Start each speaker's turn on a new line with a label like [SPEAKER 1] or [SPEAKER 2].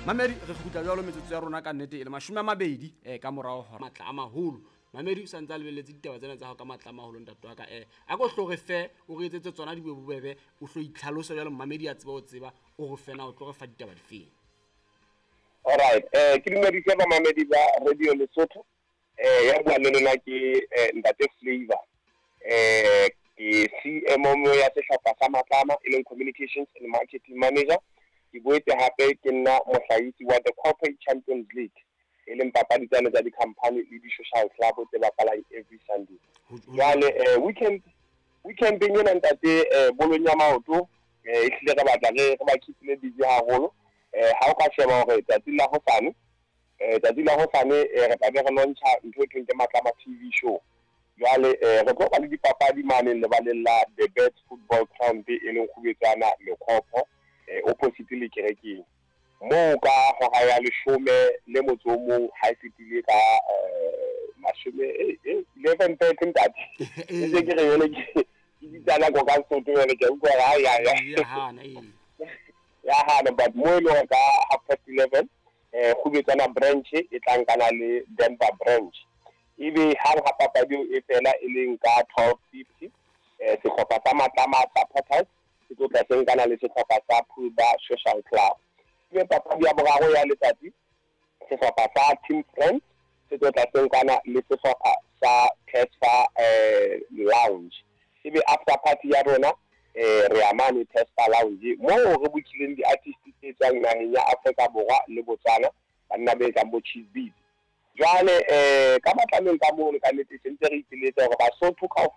[SPEAKER 1] Mamedi, re kgutla jwalo metsotso ya rona ka nnete e le 20 ka morao hore matla a maholo. Mamedi o sa ntse a lebelletse ditaba tsena tsa hao ka matla a maholo, ntate wa ka. A ko hlo re fe, o re etsetse tsona di be bobebe, o hlo itlhalosa jwalo mamedi a tseba o tseba, o re fe na o tlo re fa ditaba difeng.
[SPEAKER 2] Alright, ke dumedise bamamedi ba Radio Lesotho. Ya bua le lona ke Ntate Flavor. Ke CMO ya sehlopha sa Matlama, e leng Communications and Marketing Manager. Ke boetse hape ke nna mohlahisi wa the Corporate Champions League, e leng papadi tsane tsa di-company le di-social club tse bapalang every Sunday. Jwale weekendeng ena, ntate, bolong ya maoto, ehlile re batla re ba keep-ile busy haholo. Ha o ka sheba hore tsatsi la hosane, tsatsi la hosane, re tla be re launcha ntho e thweng ke Matlama TV show. Jwale re tlo ba le dipapadi mane lebaleng la The Birds Football Ground, e leng Kgubetsana Lekhopho, opposite le kerekeng moo, ka hora ya 11 ha e fetile ka mashome 11:30, ntate. E se ke re jwale ke bitsa nako ka Sesotho, jwale ke a utlwa hore ai, ai, ai.
[SPEAKER 1] Ya hana, ee.
[SPEAKER 2] Ya hana, but mo e leng hore ka 11:30, Kgubetsana branch e tla nkana le Denver branch. Ebe hang ha papadi eo e fela, e leng ka 12:50, sehlopha sa Matlama Supporters se tlo tla se nkana le sehlopha sa Pulba Social Club. Ebe papadi ya boraro ya letsatsi, sehlopha sa Team Friends se tlo tla se nkana le sehlopha sa Tesfa Lounge. Ebe after party ya rona, re ya mane Tesfa Lounge, moo re bookileng di-artist tse tswang naheng ya Afrika Borwa le Botswana, banna be kang bo Cheese Beats. Jwale ka Matlameng ka mono, ka nnete se ntse re ipiletsa hore Basotho kaofela.